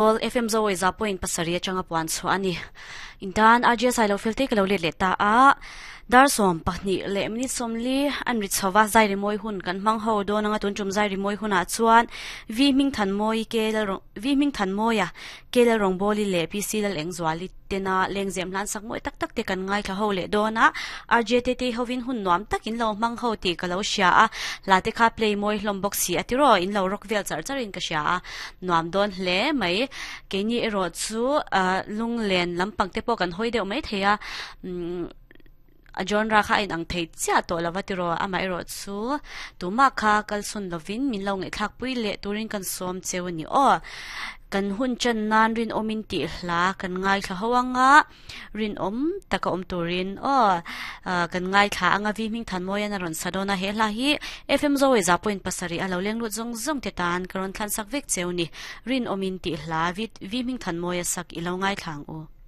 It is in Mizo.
Awl FM Zoe za point pasarih atanga puan chhuah a ni. Intan RJ Sailo Felte ka lo let leh ta a, dar 12 leh minute 40 an ri chho va, zai rimawi hun kan hmang ho dawn anga tun tum zai rimawi hunah chuan V Hmingthanmawii ke Lal V Hmingthanmawia ke Lal Rawngbawli leh PC Lal Engzuali tena lengzem hlan sak mawi tak tak te kan ngaithla ho leh dawn a, RJ Tetei hovin hun nuam tak in lo hmang ho tih ka lo hria a, hla te kha play mawi hlawm bawk si a tiraw in lo rock vel char char in ka hria a, nuam dawn hle mai. Keini erawh chu lunglen lampang te pawh kan hawi deuh mai thei a, umm a genre kha a inang thei chiah tawh lo va tiraw, amaherawh chu tumah kha kalchhun lovin min lo ngaihthlak pui leh turin kan sawm cheu a ni aw. Kan hun chan nan rinawmin tih hla kan ngaithla ho anga rinawm taka awm turin aw kan ngaithla anga Vi Hmingthanmawian a rawn sa dawn a, he hla hi FM Zoe za point pasarih a lo leng lut zawng zawng te tan ka rawn thlansak vek cheu ni. Rinawmin tih hla Vi Hmingthanmawia sak i lo ngaithla ang u.